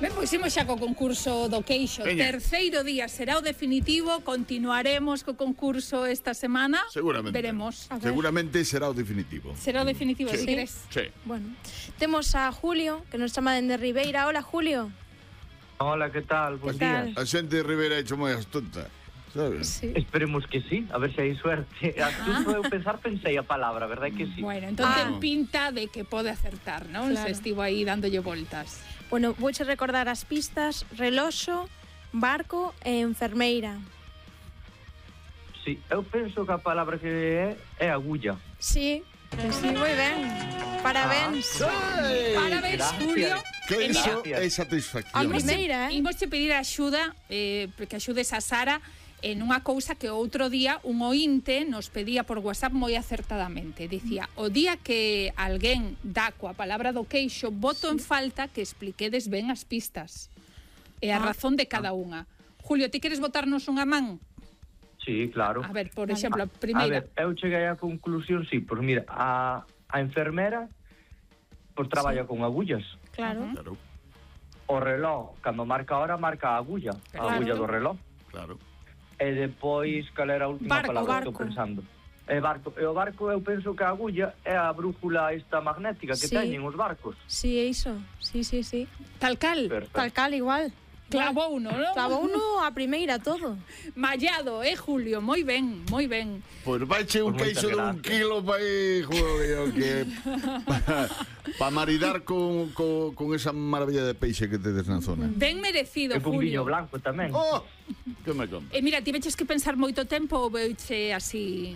Ben, pois imos xa co concurso do queixo. Terceiro día será o definitivo. Continuaremos co concurso esta semana. Seguramente. Veremos. Seguramente será o definitivo. Será o definitivo, Sí. si queres. Sí. Bueno, temos a Julio, que nos chama dende Ribeira. Hola, Julio. Hola, ¿qué tal? Buen ¿Qué tal? día. A xente de Rivera é hecho moi astonta, sabes? Sí. Esperemos que sí, a ver se hai suerte. Astuto eu pensei a palabra, verdad que sí? Bueno, entón ten pinta de que pode acertar, non? Claro. Se estivo aí dándolle voltas. Bueno, vouche recordar as pistas: reloxo, barco e enfermeira. Sí, eu penso que a palabra que é agulla. Sí, moi ben. Parabéns. Parabéns, Gracias. Julio. Que iso Gracias. é satisfacción. A primeira, Imos che pedir axuda, que axudes a Sara en unha cousa que outro día un ointe nos pedía por WhatsApp moi acertadamente. Dicía, o día que alguén dá coa palabra do queixo, voto en falta que expliquedes ben as pistas e a razón de cada unha. Julio, ti queres botarnos unha man? Sí, claro. A ver, por exemplo, a A primeira. ver, eu cheguei á conclusión, sí, pues mira, a enfermera pues traballa con agullas. claro. Claro, O reloj, cando marca a hora, marca a agulla. Claro. A agulla do reloj. claro. E depois, cal era a última Barco, palabra que barco. estou pensando? E o barco eu penso que a agulla é a brújula esta magnética que Sí. teñen os barcos. Sí, é iso. Sí. Tal cal. Perfecto. Tal cal, igual. Clavou uno, non? Clavou uno a primeira todo. Mallado, Julio? Moi ben, moi ben. Pois vaiche un Pues queixo de moitas un gracias. kilo para aí, Julio, que para maridar con esa maravilla de peixe que tedes na zona. Ben merecido, E con Julio. viño blanco tamén. Oh, que me conta. Mira, ti veches que pensar moito tempo ou veuche así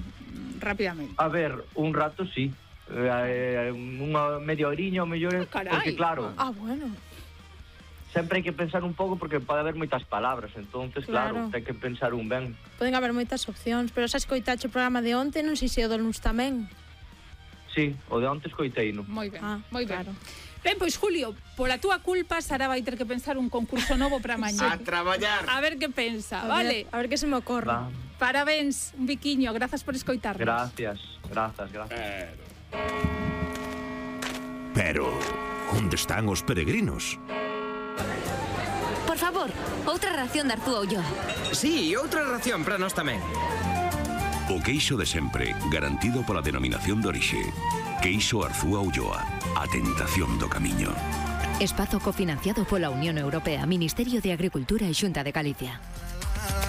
rapidamente? A ver, un rato sí. Unha media horiña ou mellor, carai. porque claro, Bueno. sempre hai que pensar un pouco porque pode haber moitas palabras, entonces Claro. claro, ten que pensar un ben. Poden haber moitas opcións, pero xa escoitache o programa de onte, non sei se o do luns tamén. Sí, o de antes coiteino. Moi ben, Ah, moi ben. claro. Ben, pois Julio, pola túa culpa Sara vai ter que pensar un concurso novo para mañá. A traballar. A ver que pensa, A vale? ver que se me ocorre. Va. Parabéns, un biquiño, grazas por escoitarnos. Gracias. Pero, onde están os peregrinos? Por favor, outra ración de Arzúa Ulloa. Sí, outra ración para nós tamén. O queixo de sempre, garantido pola denominación de orixe. Queixo Arzúa Ulloa, a tentación do camiño. Espazo cofinanciado pola Unión Europea, Ministerio de Agricultura e Xunta de Galicia.